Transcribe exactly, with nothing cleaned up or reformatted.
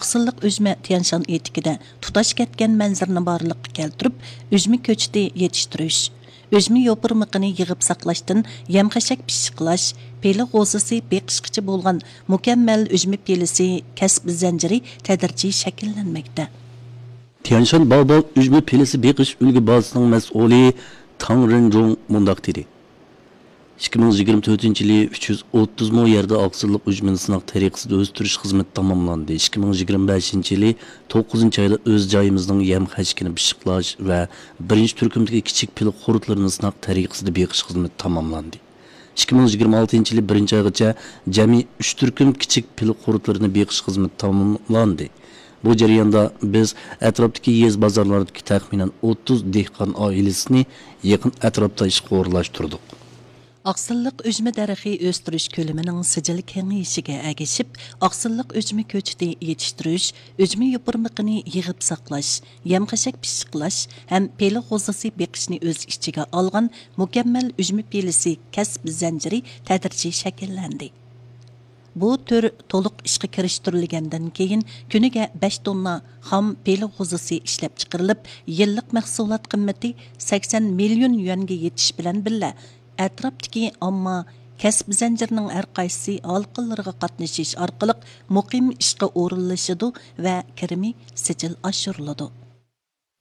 ئاقسىللىق ئۈجمە تيەنشان ئېتىكىدە تۇتاش كەتكەن مەنزىرىنى بارلىققا كەلتۈرۈپ، ئۈجمە كۆچىتى يېتىشتۈرۈش، ئۈجمە يوپۇرمىقىنى يىغىپ ساقلاشتىن يەم-خەشەك پىششىقلاش، پىلە غوزىسى بېقىشقىچە بولغان مۇكەممەل ئۈجمە پىلىسى كەسىپ زەنجىرى تەدرىجىي شەكىللەنمەكتە. تيەنشان باۋباۋ ئۈجمە پىلىسى بېقىش ئۈلگە بازىسىنىڭ مەسئۇلى تاڭ رېنجۇڭ مۇنداق دېدى: ئىككى مىڭ يىگىرمە تۆتىنچى يىلى ئۈچ يۈز ئوتتۇز مو يەردە ئاقسىللىق ئۈجمىنى سىناق تەرىقىسىدە ئۆستۈرۈش خىزمىتى تاماملاندى. ئىككى مىڭ يىگىرمە بەشىنچى يىلى توققۇزىنچى ئايدا ئۆز جايىمىزنىڭ يەم خەشىكىنى پىششىقلاش ۋە بىرىنچى تۈركۈمدىكى كىچىك پىلە قۇرتلىرىنى سىناق تەرىقىسىدە بېقىش خىزمىتى تاماملاندى. ئىككى مىڭ يىگىرمە ئالتىنچى يىلى بىرىنچى ئايغىچە جەمئىي ئۈچ تۈركۈم كىچىك پىلە قۇرتلىرىنى بېقىش خىزمىتى تاماملاندى. بۇ جەرياندا بىز ئەتراپتىكى يېزا بازارلاردىكى تەخمىنەن ئوتتۇز دېھقان ئائىلىسىنى يېقىن ئەتراپتا ئىشقا ئورۇنلاشتۇردۇق. ئاقسىللىق ئۈجمە دەرىخى ئۆستۈرۈش كۆلىمىنىڭ سىجىل كېڭىيىشىگە ئەگىشىپ، ئاقسىللىق ئۈجمە كۆچىتى يېتىشتۈرۈش، ئۈجمە يوپۇرمىقىنى يىغىپ ساقلاش، يەم-خەشەك پىششىقلاش ھەم پىلە غوزىسى بېقىشنى ئۆز ئىچىگە ئالغان مۇكەممەل ئۈجمە پىلىسى كەسىپ زەنجىرى تەدرىجىي شەكىللەندى. بۇ تۈر تولۇق ئىشقا كىرىشتۈرۈلگەندىن كېيىن، كۈنىگە بەش توننا خام پىلە غوزىسى ئىشلەپچىقىرىلىپ، يىللىق مەھسۇلات قىممىتى سەكسەن مىليون يۈەنگە يېتىش بىلەن بىللە، ئەتراپتىكى ئامما كەسىپ زەنجىرىنىڭ ھەر قايسى ھالقىلىرىغا قاتنىشىش ئارقىلىق مۇقىم ئىشقا ئورۇنلىشىدۇ ۋە كىرىمى سىجىل ئاشۇرۇلىدۇ.